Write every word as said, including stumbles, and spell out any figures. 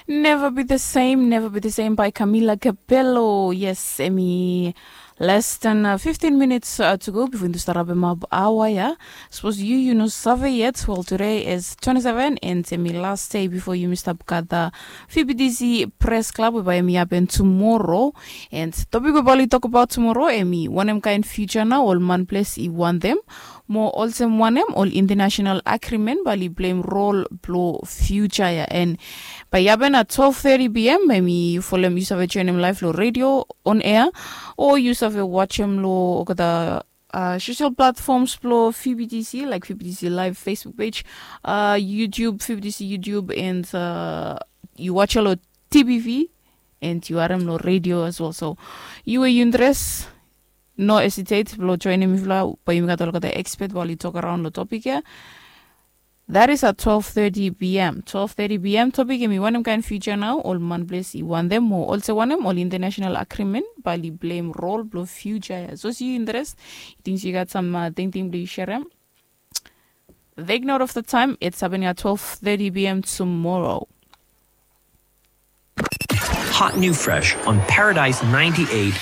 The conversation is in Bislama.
Never be the same, never be the same by Camila Capello. Yes, emi less than uh, fifteen minutes uh, to go before yumi start up ema awa ya. Suppose you you no save yet. Well, today is twenty-seven and emi last day before yumi start gather F B T C Press Club whereby emi happen tomorrow. And topic we bali talk about tomorrow emi wanem kind future now all man place I want them. Mo olsem wanem ol international agreement bali blame role blo future ya and by yaben at twelve thirty p.m. Maybe you follow you save join him live lo radio on air or you save watch him lo the uh, social platforms blo F B T C like F B T C live Facebook page, uh, YouTube, F B T C YouTube and uh, you watch lo T V and you are lo radio as well. So you were you dress no hesitate blo join him if la by you got all the expert while you talk around the topic ya. That is at twelve thirty p.m. twelve thirty p.m. Topic emi wanem kind future now all man place I want them mo olse wanem all international agreement bali blame role blo future ya. So si you interest, you think you got some uh, thing thing blo you share them. Take note of the time. It's happening at twelve thirty p.m. tomorrow. Hot new fresh on Paradise ninety-eight